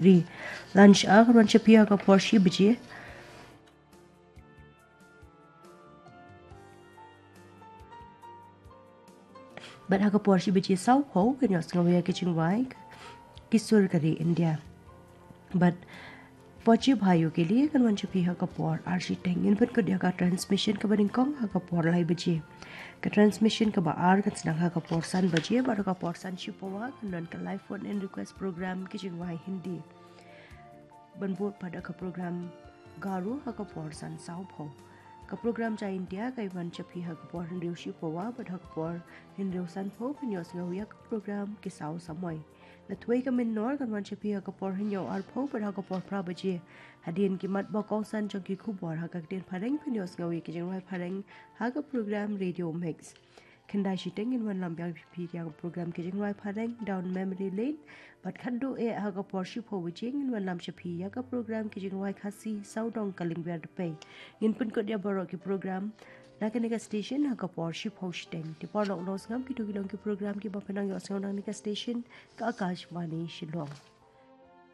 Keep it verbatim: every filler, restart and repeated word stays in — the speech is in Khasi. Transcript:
Ri. Lunch hour kan wan sha phi ha ka por shi baje. Bad ha ka por shi baje saw phew kan ïohsngew ïa ki jingrwai ki sur ka ri India. Bad Phuh Jubha Yo Ke Liye kan wan sha phi ha ka por ar shiteng. Ngin pynkut ïa ka transmission kaba nyngkong ha ka por lai baje. Ka transmission kaba ar kan sdang ha ka por san baje bad ha ka por san shi pawa kan don ka live phone in request program ki jingrwai Hindi. Ban bud pat da ka program Garo ha ka por san saw phew. Ka program Jai India kan wan sha phi ha ka por hynriew shi pawa bad ha ka por hynriew san phew kan ïohsngew ïa ka program Ki Saw Samoi. La Thwei Ka Mynnor kan wan sha phi ha ka por hynñiew ar phew bad ha ka por phra baje. Hadien ki mat ba kongsan jong ki khubor ha ka ktien phareng phin ïohsngew ïa ki jingrwai phareng ha ka program Radio Mix. Khyndai shiteng ngin wanlam biang phi ïa ka program ki jingrwai phareng Down Memory Lane. Bad khatduh eh ha ka por shi phew baje ngin wanlam sha phi ïa ka program ki jingrwai Khasi Sawdong Ka Lyngwiar Dpei. Ngin pynkut ïa baroh ki program na kane ka station ha ka por shi phew shiteng. Te paralok nongsngap, kito ki long ki program kiba phin nang ïohsngew na kane ka station, ka Akashvani Shillong.